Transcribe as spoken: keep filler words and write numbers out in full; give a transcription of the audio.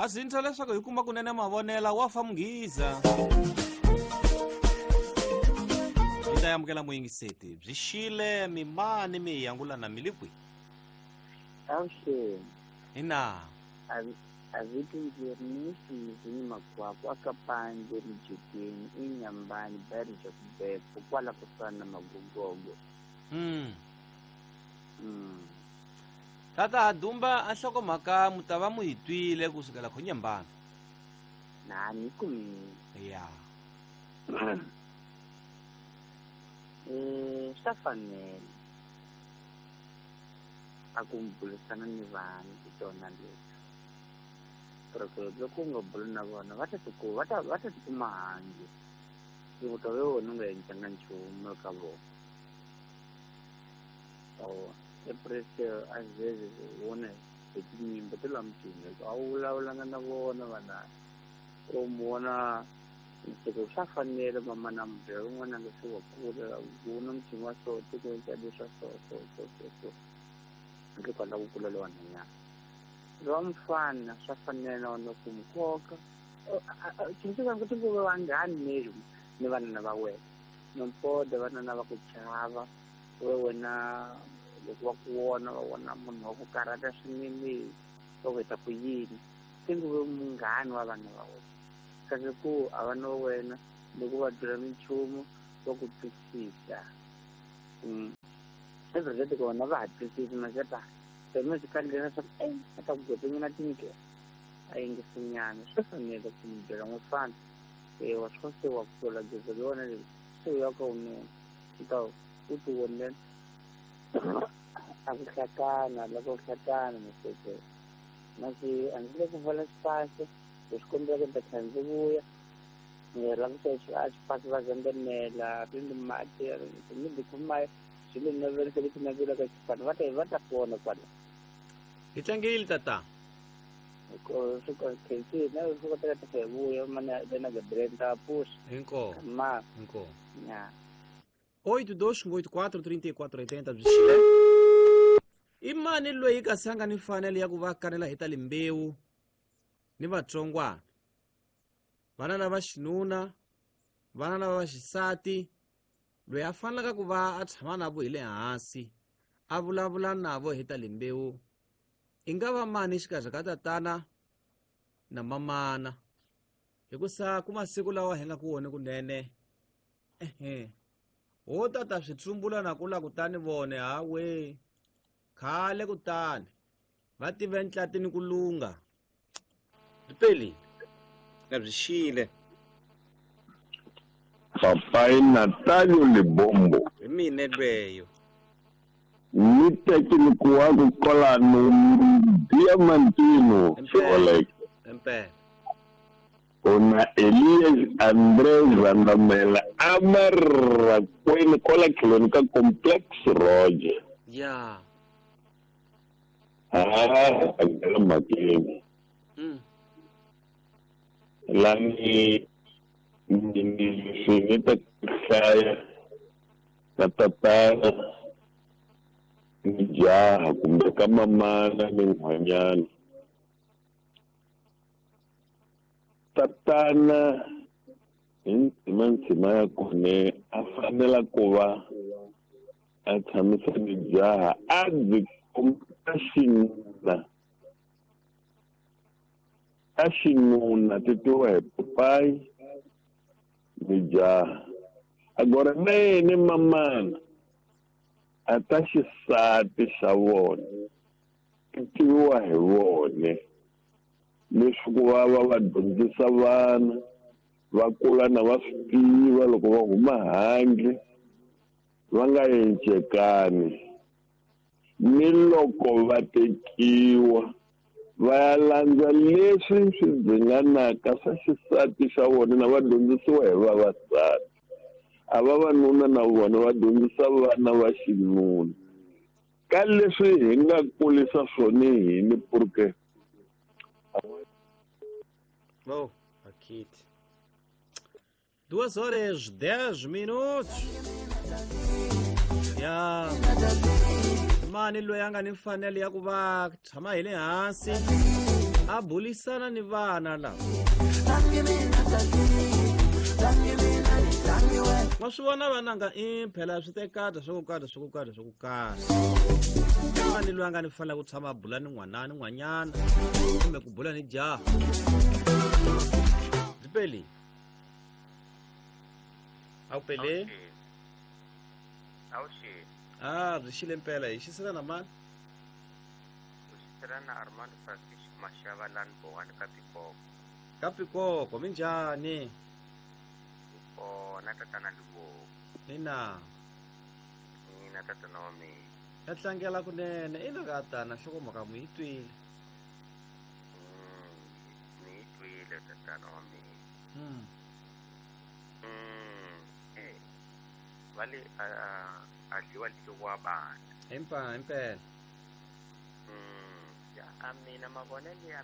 Azintha leswaku hi kuma kunene mavonela wa fa munghiza. Hi ta amukela muyingiseti byi xile mimani mi yangulana milikwi. Avuxeni. Ina. A vito ndzi ni ni makwakwa aka pandze rijekeni inyambani barija kubeko kwala kusana magogogo. Mm. Mm. Tata Dumba a nhlokomhaka mu ta va mu yi twile kusukela khonyambana. Na ni kumile. Ya. Eh, swa fanela a ku burisana ni vanhu hi tona leti. Porque loko u nga buli na vona va ta tiku va ta va ta tikuma handle. Loko ta wena u nga endlanga nchumu eka vona. Oh, eprese a vezes vona hi tinyimba ta la mutini a wu vulavulanga na vona vana. U vona nseko swa fanele mama na mbyela un'wana nga se wa kula vona mutini wa so tiko endla leswa so so so so so handle kwala ku kula lowa nhwanyana. Lowa mfana swa fanele na ku n'wi koka tsundzuka ku tinguva vanghani ni ni vanana va wena nompoda vanana va ku chava we wena loko va ku vona va vona munhu wa ku karhata swinene va ku heta ku yini tinguve munghani wa vanhu va wena kasi ku a vana va wena loko va byela minchumu va ku twisisa. Everyday kona va ha twisisi maxata pelo swi fanele leswaku e a ta ku gotenyana tindlela a yingisinyana swi fanele ku mi byela n'wifana ewa swo se wa kula gezo ri wona leri se u ya ka wununa u ta u ti vonela a ku hlakana loko ku hlakana miseke masi a ndzi le ku vala xipasi hi swi kombela ku ta tlhela ndzi vuya ni la ku a xipasi va zembemela ri ni mati ni dikhuma swilo navelisa leswi navelaka xipano va ta va ta vona kwala. Hi tlangile tata. Ko swi khensi na swi kotaka ta hi vuya mana na Gabriel ta puxa. Inko. Ma. Inko. Ya. oito dois oito quatro trinta e quatro oitenta byi xile. I mani loyi kasi a nga ni mfanelo ya ku va kanela hi ta limbewu ni vatsongwana? Vana lava xinuna, vana lava va xisati, loyi a fanelaka ku va a tshama na vo hi le hansi a vulavula na vo hi ta limbewu i nga va mani xikarhi ka tatana na mamana? Hikusa ku masiku lawa hi nga ku wona kunene ehe ho tata swi tsumbula na kula kutani vone hawe khale kutani va tive ntlatini ku lunga ripeli nga byi xile. Papai Natalio Libombo. Hi mina lweyo. Ni técnico wa ku kolano Diamantino Xiolek. Impela. Ona Elias Andrés Vandamela amarra kwene kola tlhelweni ka Complex Roger. Ya. Ah, a mhakeni. Mm. Lani ni ni ta hlaya na tatana ni jaha kumbe ka mamana ni nhwanyana. Tatana hi ndzima ya kone a fanela ku va a tshamisa ni jaha a byi komba xinuna a xinuna ti tiwa hi papayi ni jaha. Agora na yena mamana a ta xisati xa vona ti tiviwa hi vone leswaku va va va dyondzisa vana va kula na va swi tiva loko va huma handle va nga encekani ni loko va tekiwa va ya landza leswi swi dzinganaka swa xisati xa vona na va dyondzisiwa hi vavasati. A vavanuna na vona va dyondzisa vana va xinuna ka leswi hi nga kulisa swona hini porque Bom, aqui. Duas horas, dez minutos. Ya. Mani loyi a nga ni mfanelo ya ku va tshama hi le hansi A bulisana ni vana lava. Ma swi vona vananga i phela swi tekata swa ku karhi swa ku karhi swa ku karhi. Mani loyi a nga ni fanele ku tshama a bula ni n'wana ni n'wanyana kumbe ku bula ni jaha. Byi peli? A wu peli? Awuxi. Ah, byi xile mpela hi xisela na mani? U xisela na Armando Francis Mashava lani Bowani ka Pikoko. Ka Pikoko, minjhani? Kona tatana Liboho. Ina. Mina tatana wa mina. Ya tlangela kunene ina ka tana nhlokomhaka mu yi twile. Mm, ni yi twile tatana wa mina. Mm. Mm, eh. Va le a a dliwa dliwa bana. Himpa himpela. Mm, ya a mina mavonelo ya